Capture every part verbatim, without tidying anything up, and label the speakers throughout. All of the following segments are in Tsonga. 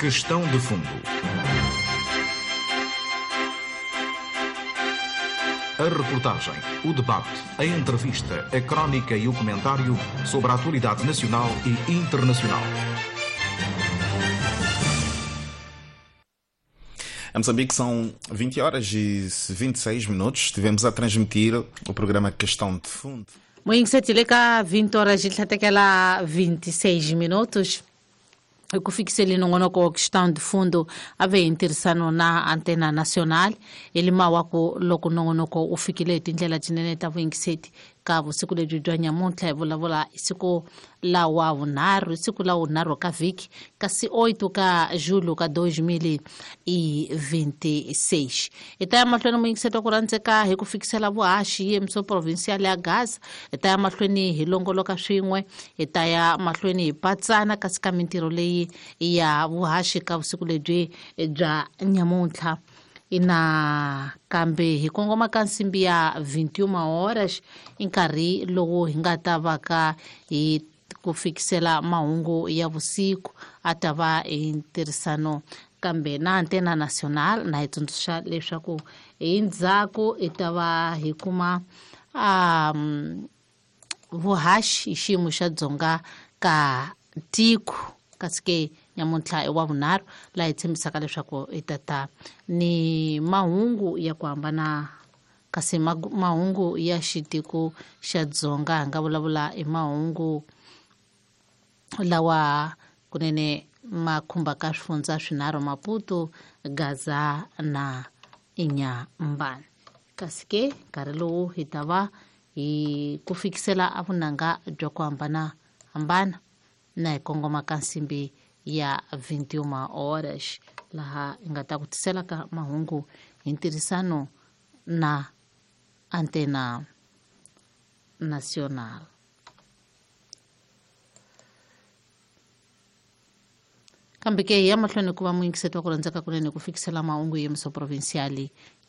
Speaker 1: Questão de Fundo. A reportagem, o debate, a entrevista, a crónica e o comentário sobre a atualidade nacional e internacional.
Speaker 2: Em Moçambique são vinte horas e vinte e seis minutos. Estivemos a transmitir o programa Questão de Fundo.
Speaker 3: Moinsetile ka vinte horas e até vinte e seis minutos. Eu fiquei nongonoko Questão de Fundo ave interessano na antena nacional ele mawako loko nongonoko u fikile tindlela tinene ta vuyingiseti ka vusiku lebyi bya nyamuntlha hi vulavula hi siku la wa vunharhu siku la vunharhu ka vhiki kasi oito ka julho ka dois mil e vinte e seis. Hi ta ya mahlweni muyingiseti wa ku rhandzeka hi ku fikisela vuhaxi yemiso provincial ya Gaza. Hi ta ya mahlweni hi longoloka swin'we, hi ta ya mahlweni hi patsana kasi ka mintirho leyi ya vuhaxi ka vusiku lebyi bya nyamuntlha. Ina kambe hi kongoma ka nsimbi ya vinte e uma horas i nkarhi lowu hi nga ta va ka hi ku fikisela mahungu ya vusiku a ta va hi ntirhisano kambe na antena nacional na hi tsundzuxa leswaku hi ndzhaku hi ta va hi kuma um, vuhaxi hi xiyimo xa dzonga ka tiko kasi ke nyamuntlha i wa vunharhu laha hi tshembisaka leswaku hi ta ta ni mahungu ya ku hambana kasi mahungu ya xitiko xa dzonga hi nga vulavula hi mahungu lawa kunene ma khumbaka swifundza swinharhu Maputo, Gaza na Inhambane. Kasi ke nkarhi lowu hi ta va hi ku fikisela a vunanga bya ku hambana hambana na hi kongoma ka nsimbi ya vinte e uma horas laha hi nga ta ku tisela ka mahungu hi ntirhisano na antena nacional. Kambe ke hi ya mahlweni ku va muyingiseti wa ku rhandzeka kunene ku fikisela mahungu yemiso provincial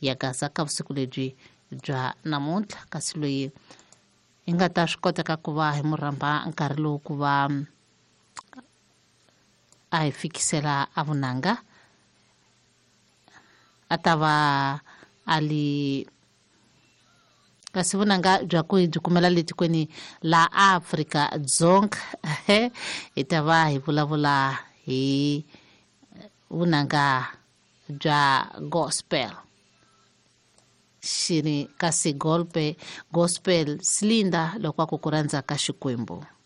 Speaker 3: ya Gaza ka vusiku lebyi bya namuntlha kasi loyi hi nga ta swi koteka ku va hi mu rhamba nkarhi lowu ku va a hi fikisela a vunanga a ta va a li kasi vunanga bya ku hi byi kumela le tikweni la Afrika Dzonga. Hi ta va hi vulavula hi vunanga bya gospel xini kasi golpe gospel Slinda loko a ku ku rhandza ka Xikwembu.